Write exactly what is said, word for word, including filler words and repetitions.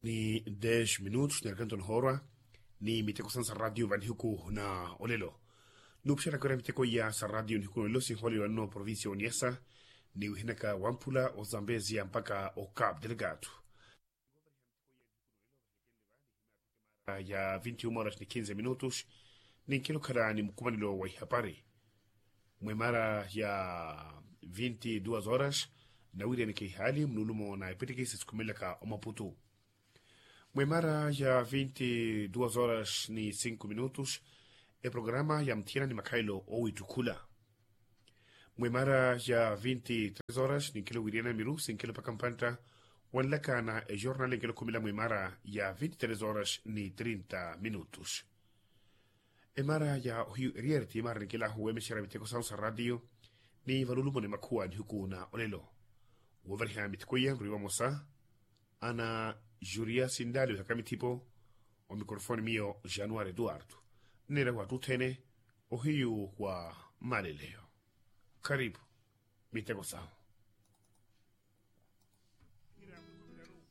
ni dez minutos ni arkanto nihoorwa ni miteko sanu sa ratio va nihiku na olelo. Nuupuxela kira miteko iya sa ratio nihiku na olelo sinhooleliwa nno provincia oniasa ni wihinaka wamphula ozambezia mpaka ocapu delegado. Ya vinti uma horas ni kinze minutos ninkela okhala ni mukumanelo wa ihapari. Mwemara ya vinti duas horas nawiryaneke ihaali munulumo na epitiki sisikumelaka omaputu. Mwemara ya vinti duas horas ni sinku minutos eprograma ya muthiyana ni makhalelo owittukhula. Mwemara ya vinti tres horas ninkela owiriyana miru sinkela opaka mpantta wanlaka na ejornal enkela okhumela mwemara ya vinti tres horas ni trinta minutos. Emara ya ohiyu eriyari ti emara ninkela ahu wemexera miteko sahu sa ratio ni valulumo ni makhuwa nihiku na olelo. Wovariha miteko iya nrwi vamosa ana juria sindali wihaka mithipo. Omikorofoni miyo januari eduardo nneera wattuthene ohiyu wa maleleyo. Kharipu miteko sahu.